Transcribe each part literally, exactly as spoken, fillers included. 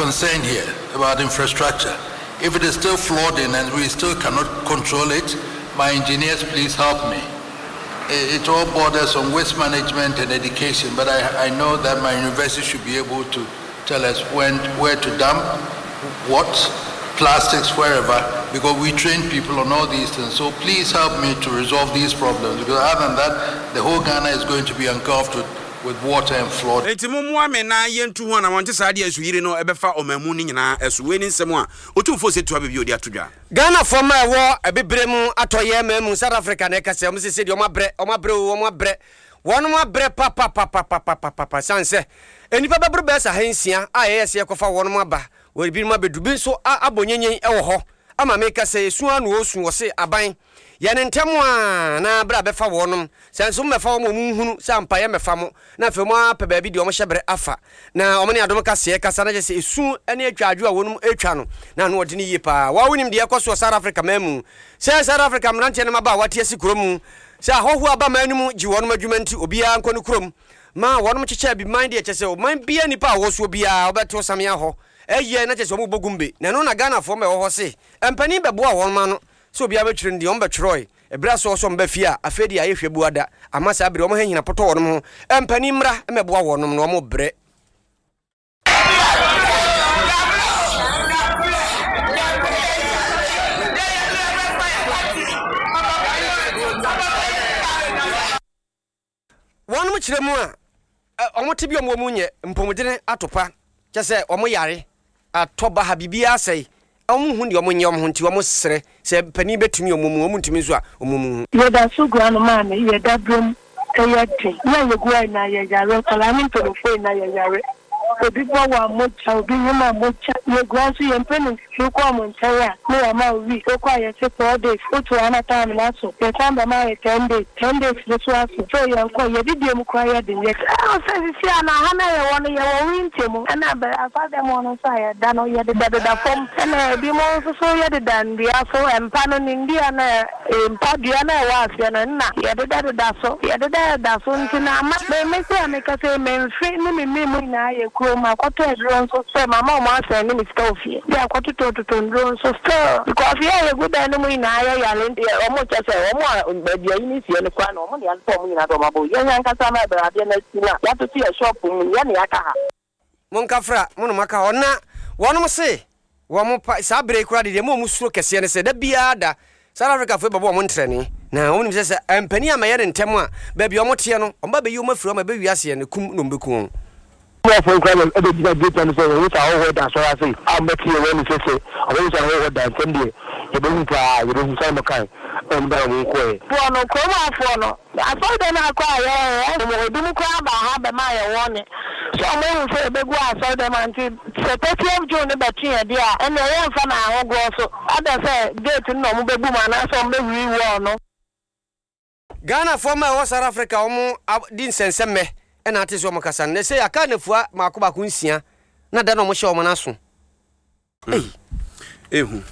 concerned here about infrastructure. If it is still flooding and we still cannot control it, my engineers, please help me. It, it all borders on waste management and education, but I, I know that my university should be able to tell us when, where to dump, what, plastics, wherever, because we train people on all these things. So please help me to resolve these problems, because other than that, the whole Ghana is going to be engulfed with, with water and flood. Enti mommoa me na yɛntu ho anammɔn, nte saa deɛ nsuyiri no ɛbɛfa ɔman mu no nyinaa ɛso. Wei ne nsɛm a Otumfoɔ Osei Tutu Ababio de ato dwa. Ghanafoɔ mma a ɛwɔ abibire mu atɔeɛ man mu, South Africa na ɛka sɛ wɔn sese deɛ wɔn abrɛ, wɔn abrɛ o, wɔn abrɛ, wɔn abrɛ papapapapapapa sane sɛ nnipa bɛboro bɛyɛ sɛ ahansia a yɛyɛ sɛ yɛkɔfa wɔn aba, wɔ ebinom abɛdu, bi nso abɔ nyenyen wɔ hɔ ama meka sɛ esu ara na wɔresu. Wɔse aban yɛ no ntɛm a na berɛ a bɛfa wɔnom, sɛ nso mommɛfa wɔn a wɔnhunu sɛ ampa yɛmmɛfa mo, na afei mo ara pɛ baabi deɛ wɔhyɛ berɛ afa na wɔn ne adom kaseɛ kasa na kyerɛ sɛ esu ne atwa adwo a wɔnom retwa no na ano ɔdene yie paa. Waa wonim deɛ ɛkɔ so wɔ South Africa man mu sɛ South Africa mmeranteɛ ne mmabaawa te asi kuro mu sɛ ahɔhoɔ aba man no mu gye wɔnom adwuma nti obiara nkɔ ne kurom ma wɔnom kyekyɛ abiman deɛ kyerɛ sɛ ɔman biara nnipa a wɔwɔ soɔ biara wɔbɛto samea hɔ ɛyɛ na kyerɛ sɛ wɔn bɔ gumbe na ɛno na Ghanafoɔ ma ɛwɔ hɔ se mpanin bɛboa wɔn ma no sɛ obiara bɛtwerɛ no deɛ wɔn bɛtwerɛe ɛberɛ a sɛ wɔsɔ wɔn ba fie a afei deɛ ayɛ hwɛ bua da ama saa bere wɔn hɛhina potɔ wɔn ho mpanin mmra mmɛboa wɔnom na wɔn brɛ. Wɔnom kyerɛ mu a, wɔn tebea a wɔwɔ mu nyɛ mpɔmudene atopa, kyɛ sɛ wɔn yare atɔ baha, biribiara asɛe, wɔn nhu deɛ wɔn nyɛ wɔn ho nti wɔn srɛ sɛ panin bɛtumi wɔn mu, wɔn ntumi nso a wɔn mu hu. Yɛda so gu ano maame, yɛ dabrem yɛ den, yɛ a yɛgu ha nyinaa yɛ yare, nkwadaa ne mpaninfoɔ nyinaa yɛ yare. Obi bɔ wa mogya, obi nyem a mogya, yɛgua nso yɛn mpaninfoɔ wokɔ wɔn nkyɛn a na yɛama wo week, wokɔ a yɛse four days, woto a na time no aso, yɛsan bɛma ayɛ ten days, ten days no nso aso, so yɛnkɔ, yɛdidie mu koraa yɛ den, yɛ. Ɛwɔ sɛ sisi a na ha no a yɛwɔ no yɛwɔ winter mu, ɛna bɛ asɔrdan mu hɔ no nso a yɛda no yɛdedadeda fam, ɛna ebinom nso so yɛdeda nnua so, mpa no ne nnua no a Mpa dua no a ɛwɔ aseɛ no nna yɛdedadeda so, yɛdedadeda so nti na ama me me se a mekasa yi me mfe ne me mene mu nyinaa yɛ kuro, makɔtɔ aduro nso sɛ mama ɔmo asɛnde me sika wɔ fie de akɔtotɔtotɔ nnuro nso still because yɛ a yɛgu dan no mu nyinaa yɛ yare nti. Wɔn kyɛ sɛ wɔn a baabi ayi no sie no koraa na wɔn na yɛasesa wɔn nyinaa de wɔn abɔ yɛn ankasa no a adeɛ no asi no a yɛatoto yɛn shop mu yɛn na yɛaka ha. Monkafra, mo na moaka hɔ. Na wɔnom se wɔn pa, saa berɛ yi koraa de deɛ ɛma wɔn suro kɛseɛ ne sɛ, da biara da, South Africafoɔ yi bɛbɔ wɔn ntrɛne. Na wɔn nim sɛ sɛ ampanin ammɛyɛ no ntɛm a, baabi a wɔteɛ no, wɔn ba bɛyi wɔn afiri hɔ ma ɛbɛwie aseɛ no, kum na wɔbɛku wɔn. Noafoɔ yi koraa na ɛbɛgyina gate ano sɛ yɛhu sɛ ahɔhoɔ da asɔre ase a wɔbɛte yɛn wɔn sɛ sɛ wɔbɛhu sɛ ahɔhoɔ da ntɛm deɛ yɛbɛhu paa yɛbɛhu sɛdeɛ wɔkae na wɔn dan wɔn kɔeɛ. Foɔ no, kurom hafoɔ no, Asɔredan no akɔ a yɛɛ mu ebinom koraa baa ha bɛmaa yɛn warning sɛ ɔmo ahu sɛ yɛbɛgu asɔredan mu ha nti sɛ thirtieth June no bɛto yɛn deɛ a ɛnneɛ yɛmfa no ahogorɔ so either sɛ gate no na ɔmo bɛbu mu anaasɛ ɔmo bɛhuri wall no. Ghanafoɔ mma a ɛwɔ South Africa a wɔn di nsɛnsɛmmɛ na ate sɛ wɔn kasa no, na ɛsei aka nnafua mmaako baako nsia na da na wɔhyɛ wɔn no aso. Ei. Ehu.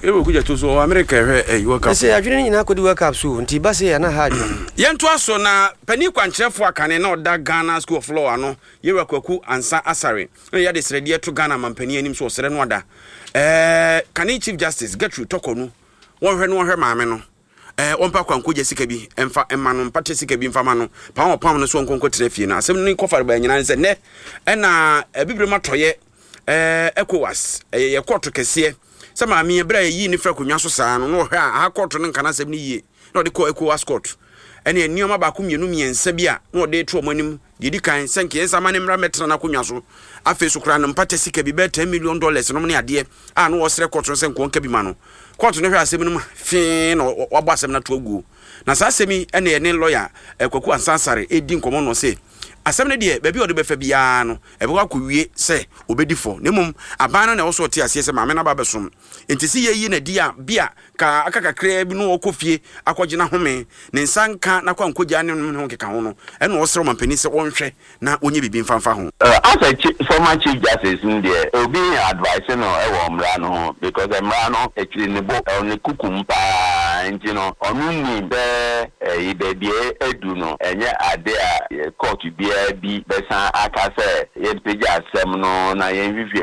Ewu kuja to so America hwɛ ɛyi World Cup. Ɛsɛ adwene no nyinaa kɔdi World Cup so nti ba sei a na ha adwene. Yɛntoa so na panin kwankyerɛfoɔ akane na ɔda Ghana School of Law ano, Yewura Kwaku Ansah Asare na ɔyɛ adesrɛdeɛ to Ghana mampanin anim so ɔsrɛ no ada ɛɛ kane Chief Justice Gertrude Torkornoo wɔnhwɛ no wɔnhwɛ maame no. Eh, ɔmpa kwankogya sika bi mfa mma no, mpata sika bi mfa ma no, pam a ɔpam no so ɔnkɔ nkɔtena fie no. Asɛm no kɔfare baa nyinaa ne sɛ nnɛ ɛna Abibirem atɔeɛ eh, ECOWAS, ɛyɛ yɛ kɔɔto kɛseɛ sɛ maame yi berɛ a yɛyii ne firi akonnwa so saa no na ɔhwɛ a aha kɔɔto no nka n'asɛm no yie na ɔde kɔɔ ECOWAS court ɛne nneɛma baako mmienu mmiɛnsa bi a na ɔde to wɔn anim. Deɛ ɛdi kan sɛ nka yɛnsa ma ne mmra mmɛtena n'akonnwa so. Afei so koraa no mpata sika bi bɛyɛ ten million dollars nom ne adeɛ a na wɔsrɛ kɔɔto no sɛ nka ɔnka bi ma no. Kɔɔto no hwɛ asɛm no mu fee na wabɔ asɛm no ato aguo. Na saa asɛm yi na yɛne lɔya eh, Kwaku Ansah Asare redi nkɔmmɔ no ɔse asɛm no deɛ baabi a ɔde bɛfa biara no ɛbɛkɔ akɔwie sɛ ɔbɛdi fɔ na mmom aban no na ɛwɔ so ɔte aseɛ sɛ maame no aba abɛsom nti sɛ yɛyi no adi a bi a ka aka kakraa bi no ɔkɔ fie akɔgye n'ahome ne nsa nka n'akwankogya ne ne ho nkeka ho no ɛna ɔsrɛ ɔmampanin sɛ ɔnhwɛ na ɔnyɛ biribi mfa mfa ho. As a former chief justice no deɛ obi advice no wɔ mmra no ho because mmra no ɛkyiri ne bo ɛwɔ ne kuku mu paa nti no ɔno nim sɛ ɛyi baabi a adu no ɛnyɛ ade a court biara bi bɛsan aka sɛ yɛmpagya asɛm no na yɛnhwehwɛ